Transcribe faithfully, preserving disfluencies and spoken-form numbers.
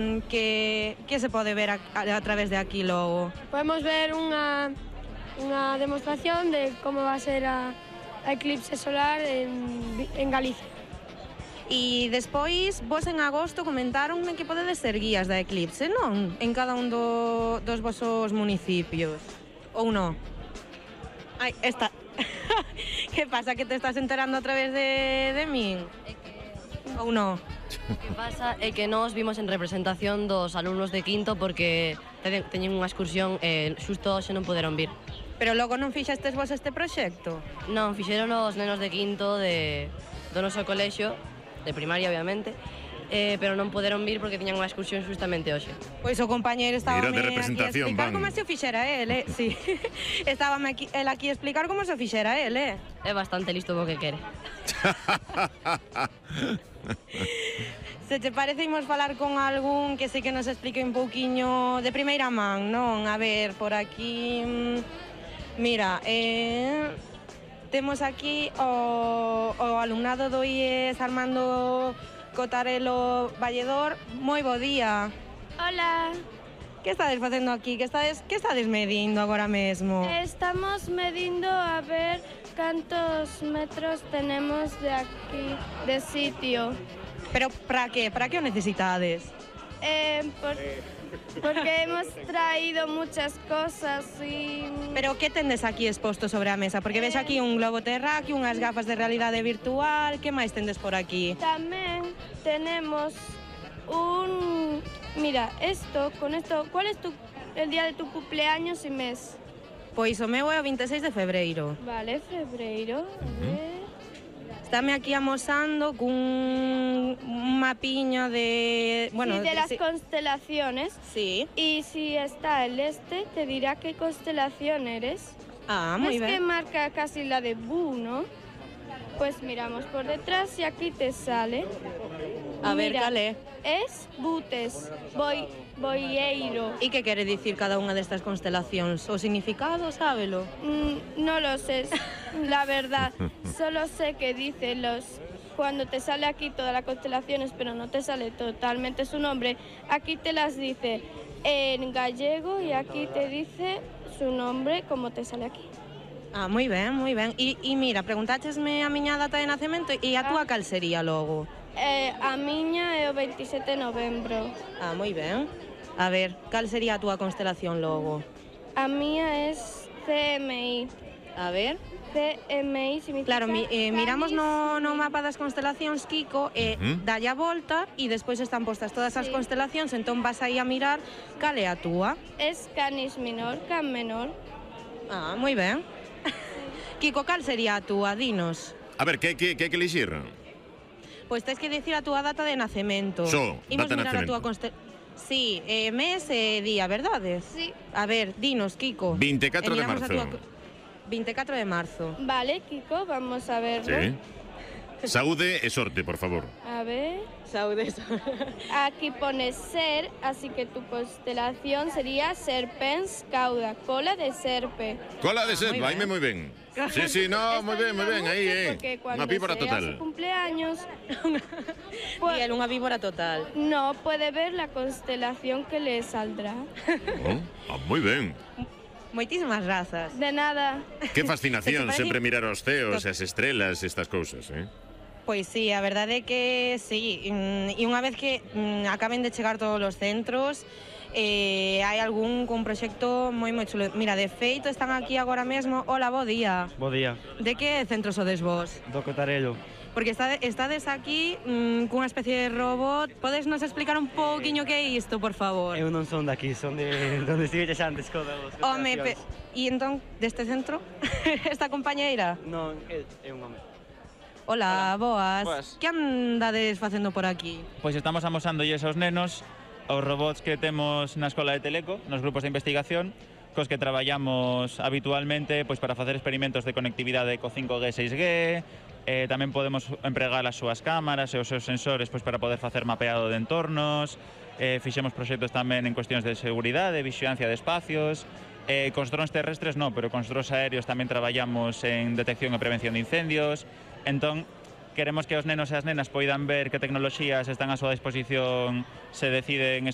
Que, que se pode ver a, a, a través de aquí logo? Podemos ver unha, unha demostración de como va a ser a, a eclipse solar en, en Galicia. E despois, vos en agosto comentaronme que podedes ser guías da eclipse, non? En cada un do, dos vosos municipios. Ou non? Ai, esta... que pasa, que te estás enterando a través de, de min? É que... Ou non? O que pasa é que nós vimos en representación dos alumnos de quinto porque teñen unha excursión e xusto hoxe non poderon vir. Pero logo non fixestes vos este proxecto? Non, fixeron os nenos de quinto de, do noso colexio, de primaria obviamente, eh, pero non poderon vir porque tiñan unha excursión justamente hoxe. Pois o compañeiro estaba Irán de aquí a representación, explicar van. como se o fixera el, eh? Sí. Estaba aquí, el aquí a explicar como se o fixera el, eh? É bastante listo o que quere. Se te parece, imos falar con algún que sei que nos explique un pouquiño de primeira man, non? A ver, por aquí... Mira, eh... temos aquí o, o alumnado do I E S Armando Cotarelo Valledor. Moi bo día. Hola, Que estades facendo aquí? Que estades, que estades medindo agora mesmo? estamos medindo a ver cantos metros tenemos de aquí, de sitio. Pero para que? Para que o necesitades? Eh, por, porque hemos traído muchas cosas y... Pero que tendes aquí exposto sobre a mesa? Porque ves aquí un globo terráqueo, unhas gafas de realidade virtual, que máis tendes por aquí? También tenemos un... Mira, esto, con esto, ¿cuál es tu, el día de tu cumpleaños y mes? Pois o meu é o vinte e seis de febreiro. Vale, febrero, a ver... Estame aquí amosando cun un mapiño de... Bueno, sí, de las sí. constelaciones. Sí. Y si está el este, te dirá qué constelación eres. Ah, moi Es que ben. marca casi la de Bu, ¿no? Pues miramos por detrás y aquí te sale. A ver, Mira, cal é? Es Butes, Boi, Boieiro. E que quere dicir cada unha destas constelacións? O significado, sábelo? Mm, no lo sé, la verdad. Solo sé que dice los... Cuando te sale aquí todas las constelaciones, pero no te sale totalmente su nombre, aquí te las dice en gallego y aquí te dice su nombre como te sale aquí. Ah, moi ben, moi ben. E, e mira, preguntáchesme a miña data de nacemento e a túa cal sería logo? Eh, a miña é o veintisiete de novembro. Ah, moi ben. A ver, cal sería a túa constelación logo? A mía es C M I. A ver... C M I significa... Claro, mi, eh, miramos Canis no, no Minor. mapa das constelacións, Kiko, e Ujú. dalle a volta e despois están postas todas as Sí. constelacións, entón vas aí a mirar cal é a túa. Es Canis Minor, Can Menor. Ah, moi ben. Kiko, cal sería a túa? Dinos. A ver, que, que, que hai que elixir? Pois tens que dicir a túa data de nacemento. Só, Imos data de mirar a túa nacemento. constelación. Sí, eh, mes e día, verdades? Sí. A ver, dinos, Kiko. vinte e catro E de miramos a marzo. túa- vinte e catro de marzo. Vale, Kiko, vamos a verlo. Sí. Saúde e sorte, por favor. A ver... Saúdes. Aquí pone ser, así que tu constelación sería Serpens Cauda, cola de serpe. Cola de Ah, ser, moi vaime ben. moi ben. Sí, sí, no, Esto moi ben, moi ayuda ben, mucho aí, eh. porque cuando Unha pípora sea total. su cumpleaños, E pues, el, unha víbora total. no puede ver la constelación que le saldrá. Oh, ah, moi ben. Moitísimas razas. De nada. Que fascinación Se te parece- sempre mirar os ceos, as estrelas, estas cousas, eh? Pois sí, a verdade é que sí, mm, e unha vez que mm, acaben de chegar todos os centros, eh, hai algún cun proxecto moi moi chulo. Mira, de feito están aquí agora mesmo. Hola, bo día. Bo día, De que centro sodes vos? do Cotarelo. Porque estade, estades aquí mm, cunha especie de robot. Podes nos explicar un pouquiño que é isto, por favor? Eu non son daqui, son de donde estiveches antes co das Home, pe... constelacións. e entón, deste centro? Esta compañeira? Non, é, é un home. Hola, boas. Boas. Que andades facendo por aquí? Pois estamos amosándolles aos nenos os robots que temos na Escola de Teleco, nos grupos de investigación, cos que traballamos habitualmente pois para facer experimentos de conectividade co cinco G, seis G, eh, tamén podemos empregar as súas cámaras e os seus sensores pois para poder facer mapeado de entornos, eh, fixemos proxectos tamén en cuestións de seguridade, vixilancia de espacios, eh, cos drons terrestres non, pero cos drons aéreos tamén traballamos en detección e prevención de incendios. Entón, queremos que os nenos e as nenas poidan ver que tecnoloxías están a súa disposición se deciden estudiar